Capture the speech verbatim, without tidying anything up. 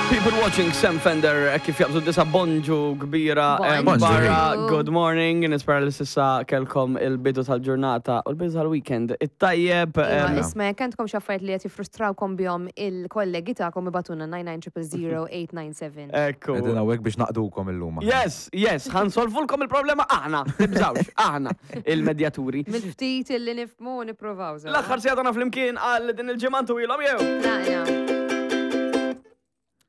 People watching Sam Fender eh, kif jaqbżu disa bonġu kbira eh, Bonġu. barra. Good morning, nispera li s'issa kellkom il-bidu tal-ġurnata u l-bidu tal-weekend. It-tajjeb. Iva, em, isma, jekk għandkom xi affarijiet li qed jiffrustrawkom bihom il-kollegi tagħkom ibagħtulna nine nine zero zero eight nine seven. Ekku. Qegħdin hawnhekk biex naqdukom illum. Yes, yes, ħa nsolvulkom il-problema aħna, tibżawx, aħna, il-medjaturi. Mill-ftit illi nifhmu nippruvaw. L-aħħar siegħa tagħna flimkien għal din il-ġimgħa ilhom jew. Naqna.